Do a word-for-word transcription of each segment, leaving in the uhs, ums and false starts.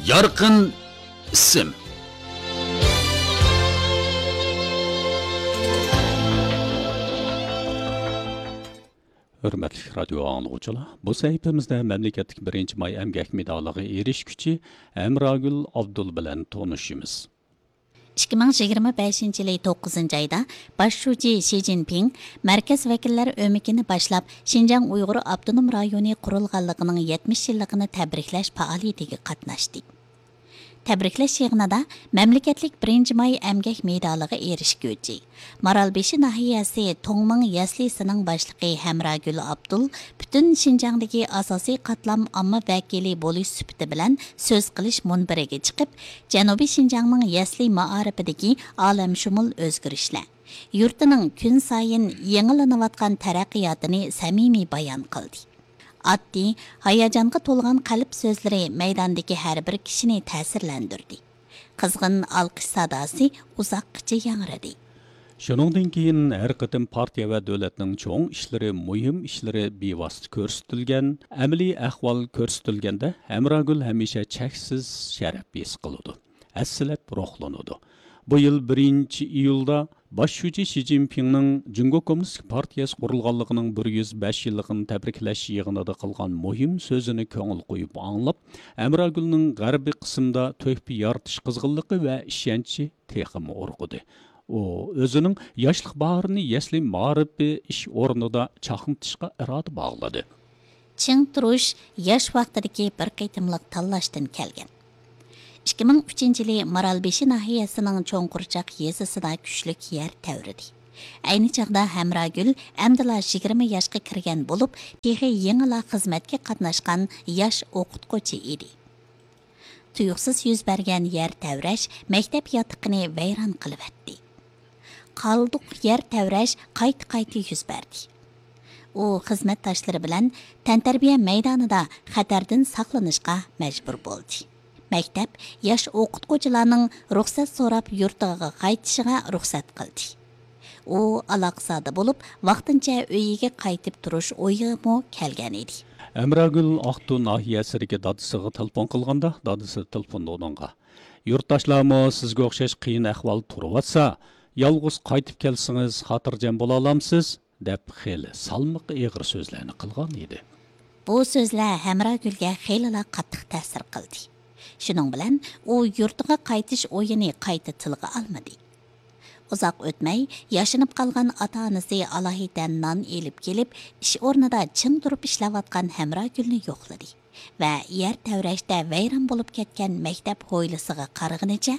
يارقىن ئىسىم. ھۆرمەتلىك رادىيو ئاڭلىغۇچىلار، بۇ سەھىپىمىزدە مەملىكەتلىك بىرىنچى ماي ئەمگەك مېدالىغا ئېرىشكۈچى ھەمراگۈل ئابدۇل بىلەن تونۇشىمىز. ئىككى مىڭ يىگىرمە بەشىنچى يىلى توققۇزىنچى ئايدا باش شۇجى شى جىنپىڭ مەركەز ۋەكىللەر ئۆمىكىنى باشلاپ، شىنجاڭ ئۇيغۇر ئاپتونوم رايونى قۇرۇلغانلىقىنىڭ يەتمىش يىللىقىنى تەبرىكلەش پائالىيىتىگە قاتناشتى. تەبرىكلەش يىغىنىدا مەملىكەتلىك بىرىنچى ماي ئەمگەك مېدالىغا ئېرىشكۈچى، مارالبېشى ناھىيەسى توڭمىڭ يەسلىسىنىڭ باشلىقى ھەمراگۈل ئابدۇل پۈتۈن شىنجاڭدىكى ئاساسىي قاتلام ئامما ۋەكىلى بولۇش سۈپىتى بىلەن سۆز قىلىش مۇنبىرىگە چىقىپ، جەنۇبىي شىنجاڭنىڭ يەسلى مائارىپىدىكى ئالەمشۇمۇل ئۆزگىرىشلەر، يۇرتىنىڭ كۈنسايىن يېڭىلىنىۋاتقان تەرەققىياتىنى سەمىمىي بايان قىلدى. ئاددىي، ھاياجانغا تولغان قەلب سۆزلىرى مەيداندىكى ھەر بىر كىشىنى تەسىرلەندۈردى. قىزغىن ئالقىش ساداسى ئۇزاققىچە ياڭرىدى. شۇنىڭدىن كېيىن ھەر قېتىم پارتىيە ۋە دۆلەتنىڭ چوڭ ئىشلىرى، مۇھىم ئىشلىرى بىۋاسىتە كۆرسىتىلگەن، ئەمەلىي ئەھۋال كۆرسىتىلگەندە، ھەمراگۈل ھەمىشە چەكسىز شەرەپ ھېس قىلىدۇ، ھەسسىلەپ روھلىنىدۇ. بۇ يىل بىرىنچى ئىيۇلدا باش شۇجى شى جىنپىڭنىڭ جۇڭگو كوممۇنىستىك پارتىيەسى قۇرۇلغانلىقىنىڭ بىر يۈز بەش يىللىقىنى تەبرىكلەش يىغىنىدا قىلغان مۇھىم سۆزىنى كۆڭۈل قويۇپ ئاڭلاپ، ھەمراگۈلنىڭ غەربىي قىسىمدا تۆھپە يارىتىش قىزغىنلىقى ۋە ئىشەنچى تېخىمۇ ئۇرغۇدى. ئۇ ئۆزىنىڭ ياشلىق باھارىنى يەسلى مائارىپى ئىش ئورنىدا چاقنىتىشقا ئىرادە باغلىدى. چىڭ تۇرۇش ياش ۋاقتىدىكى بىر قېتىملىق تاللاشتىن كەلگەن. ئىككى مىڭ ئۈچىنچى يىلى مارالبېشى ناھىيەسىنىڭ چوڭقۇرچاق يېزىسىدا كۈچلۈك يەر تەۋرىدى. ئەينى چاغدا ھەمراگۈل ئەمدىلا يىگىرمە ياشقا كىرگەن بولۇپ، تېخى يېڭىلا خىزمەتكە قاتناشقان ياش ئوقۇتقۇچى ئىدى. تۇيۇقسىز يۈز بەرگەن يەر تەۋرەش مەكتەپ ياتىقىنى ۋەيران قىلىۋەتتى. قالدۇق يەر تەۋرەش قايتا-قايتا يۈز بەردى. ئۇ خىزمەتداشلىرى بىلەن تەنتەربىيە مەيدانىدا خەتەردىن ساقلىنىشقا مەجبۇر بولدى. مەكتەپ ياش ئوقۇتقۇچىلارنىڭ رۇخسەت سوراپ يۇرتىغا قايتىشىغا رۇخسەت قىلدى. ئۇ ئالاقزادە بولۇپ، ۋاقتىنچە ئۆيىگە قايتىپ تۇرۇش ئويىغىمۇ كەلگەن ئىدى. ئەمراگۈل ئاقتۇ ناھىيەسىدىكى دادىسىغا تېلېفون قىلغاندا، دادىسى تېلېفوندا ئۇنىڭغا، «يۇرتداشلارمۇ سىزگە ئوخشاش قىيىن ئەھۋالدا تۇرۇۋاتسا، يالغۇز قايتىپ كەلسىڭىز خاتىرجەم بولالامسىز؟» دەپ خېلى سالمىقى ئېغىر سۆزلەرنى قىلغان ئىدى. بۇ سۆزلەر ھەمراگۈلگە خېلىلا قاتتىق تەسىر قىلدى. شۇنىڭ بىلەن ئۇ يۇرتىغا قايتىش ئويىنى قايتا تىلغا ئالمىدى. ئۇزاق ئۆتمەي، ياشىنىپ قالغان ئاتا-ئانىسى ئالاھىدە نان ئېلىپ كېلىپ، ئىش ئورنىدا چىڭ تۇرۇپ ئىشلەۋاتقان ھەمراگۈلنى يوقلىدى ۋە يەر تەۋرەشتە ۋەيران بولۇپ كەتكەن مەكتەپ ھويلىسىغا قارىغىنىچە،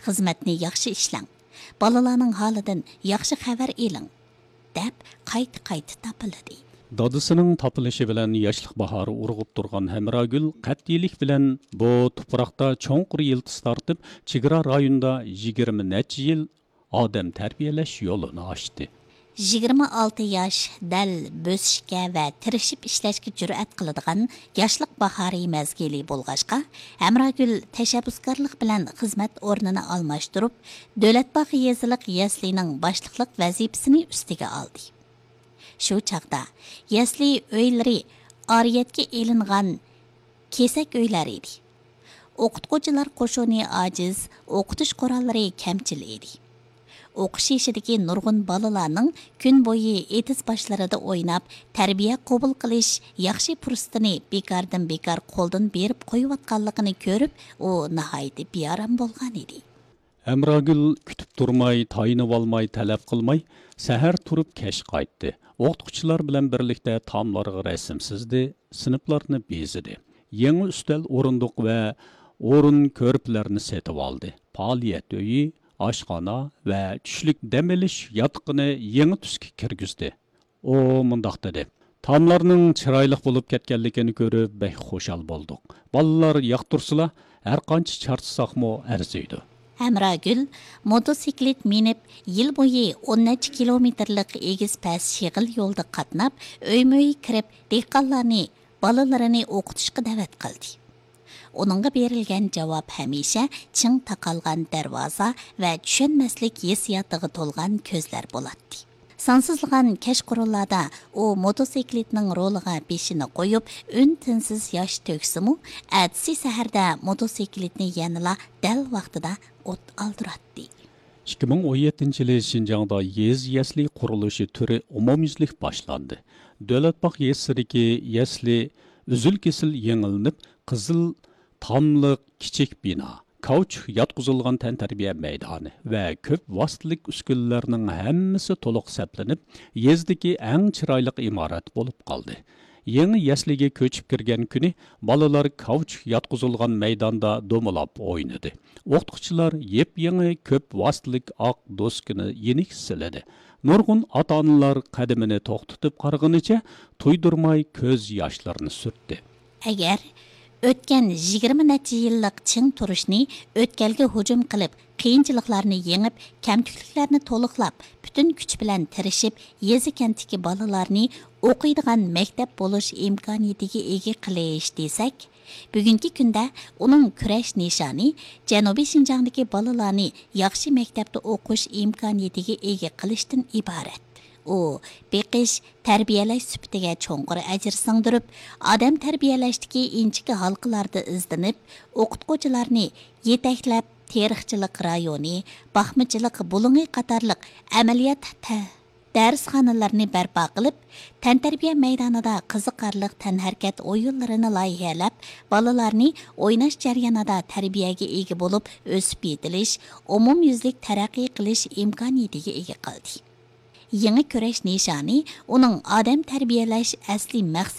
«خىزمەتنى ياخشى ئىشلەڭ، بالىلارنىڭ ھالىدىن ياخشى خەۋەر ئېلىڭ» دەپ، قايتا-قايتا تاپىلىدى. دادىسىنىڭ تاپىلىشى بىلەن ياشلىق باھارى ئۇرغۇپ تۇرغان ھەمراگۈل قەتئىيلىك بىلەن بۇ تۇپراقتا چوڭقۇر يىلتىز تارتىپ، چېگرا رايونىدا يىگىرمە نەچچە يىل ئادەم تەربىيەلەش يولىنى ئاچتى. يىگىرمە ئالتە ياش دەل بۆسۈشكە ۋە تىرىشىپ ئىشلەشكە جۈرئەت قىلىدىغان ياشلىق باھارى مەزگىلى بولغاچقا، ھەمراگۈل تەشەببۇسكارلىق بىلەن خىزمەت ئورنىنى ئالماشتۇرۇپ، دۆلەتباغ يېزىلىق يەسلىنىڭ باشلىقلىق ۋەزىپىسىنى ئۈستىگە ئالدى. شۇ چاغدا يەسلى ئۆيلىرى ئارىيەتكە ئېلىنغان كېسەك ئۆيلەر ئىدى. ئوقۇتقۇچىلار قوشۇنى ئاجىز، ئوقۇتۇش قوراللىرى كەمچىل ئىدى. ئوقۇش يېشىدىكى نۇرغۇن بالىلارنىڭ كۈن بويى ئېتىز باشلىرىدا ئويناپ، تەربىيە قوبۇل قىلىش ياخشى پۇرسىتىنى بىكاردىن بىكار قولدىن بېرىپ قويۇۋاتقانلىقىنى كۆرۈپ، ئۇ ناھايىتى بىئارام بولغان ئىدى. ھەمراگۈل كۈتۈپ تۇرماي، تايىنىۋالماي، تەلەپ قىلماي، سەھەر تۇرۇپ كەچ قايتتى. ئوقۇتقۇچىلار بىلەن بىرلىكتە تاملارغا رەسىم سىزدى، سىنىپلارنى بېزىدى. يېڭى ئۈستەل ئورۇندۇق ۋە ئورۇن كۆرپىلەرنى سېتىۋالدى. پائالىيەت ئۆيى، ئاشخانا ۋە چۈشلۈك دەم ئېلىش ياتىقىنى يېڭى تۈسكە كىرگۈزدى. ئۇ مۇنداق دېدى، تاملارنىڭ چىرايلىق بولۇپ كەتكەنلىكىنى كۆرۈپ بەك خۇشال بولدۇق. بالىلار ياقتۇرسىلا، ھەرقانچە چارچىساقمۇ ئەرزىيدۇ. ھەمراگۈل موتوسىكلىت مىنىپ، يىل بويى ئون نەچچە كىلومېتىرلىق ئېگىز پەس شېغىل يولدا قاتناپ، ئۆيمۇ ئۆي كىرىپ، دېھقانلارنى، بالىلىرىنى ئوقۇتۇشقا دەۋەت قىلدى. ئۇنىڭغا بېرىلگەن جاۋاب ھەمىشە چىڭ تاقالغان دەرۋازا ۋە چۈشەنمەسلىك ھېسسىياتىغا تولغان كۆزلەر بولاتتى. سانسىزلىغان كەچقۇرۇنلاردا ئۇ موتوسىكلىتنىڭ رولىغا بېشىنى قويۇپ، ئۈن-تىنسىز ياش تۆكسىمۇ، ئەتىسى سەھەردە موتوسىكلىتنى يەنىلا دەل ۋاقتىدا ئوت ئالدۇراتتى. ئىككى مىڭ ئون يەتتىنچى يىلى شىنجاڭدا يېزا يەسلى قۇرۇلۇشى تۈرى ئومۇميۈزلۈك باشلاندى. دۆلەت باغ يېزىسىدىكى يەسلى ئۈزۈل-كېسىل يېڭىلىنىپ، قىزىل تاملىق كىچىك بىنا، كاۋچۇك ياتقۇزۇلغان تەنتەربىيە مەيدانى ۋە كۆپ ۋاسىتىلىك ئۈسكۈنىلەرنىڭ ھەممىسى تولۇق سەپلىنىپ، يېزىدىكى ئەڭ چىرايلىق ئىمارەت بولۇپ قالدى. يېڭى يەسلىگە كۆچۈپ كىرگەن كۈنى بالىلار كاۋچۇك ياتقۇزۇلغان مەيداندا دومىلاپ ئوينىدى. ئوقۇتقۇچىلار يېپيېڭى كۆپ ۋاسىتىلىك ئاق دوسكىنى يېنىك سىلىدى. نۇرغۇن ئاتا-ئانىلار قەدىمىنى توختىتىپ قارىغىنىچە تۇيدۇرماي كۆز ياشلىرىنى سۈرتتى. ئەگەر ئۆتكەن يىگىرمە نەچچە يىللىق چىڭ تۇرۇشنى ئۆتكەلگە ھۇجۇم قىلىپ، قىيىنچىلىقلارنى يېڭىپ، كەمتۈكلۈكلەرنى تولۇقلاپ، پۈتۈن كۈچ بىلەن تىرىشىپ، يېزا-كەنتتىكى بالىلارنى ئوقۇيدىغان مەكتەپ بولۇش ئىمكانىيىتىگە ئىگە قىلىش دېسەك، بۈگۈنكى كۈندە ئۇنىڭ كۈرەش نىشانى جەنۇبىي شىنجاڭدىكى بالىلارنى ياخشى مەكتەپتە ئوقۇش ئىمكانىيىتىگە ئىگە قىلىشتىن ئىبارەت. ئۇ بېقىش، تەربىيەلەش سۈپىتىگە چوڭقۇر ئەجىر سىڭدۈرۈپ، ئادەم تەربىيەلەشتىكى ئىنچىكە ھالقىلاردا ئىزدىنىپ، ئوقۇتقۇچىلارنى يېتەكلەپ، تېرىقچىلىق رايونى، باقمىچىلىق بۇلۇڭى قاتارلىق ئەمەلىيەت تە-، دەرسخانىلىرىنى بەرپا قىلىپ، تەنتەربىيە مەيدانىدا قىزىقارلىق تەنھەرىكەت ئويۇنلىرىنى لايىھەلەپ، بالىلارنى ئويناش جەريانىدا تەربىيەگە ئىگە بولۇپ، ئۆسۈپ يېتىلىش، ئومۇميۈزلۈك تەرەققىي قىلىش ئىمكانىيىتىگە ئىگە قىلدى. يېڭى كۈرەش نىشانى ئۇنىڭ ئادەم تەربىيەلەش ئەسلىي مەقسىتى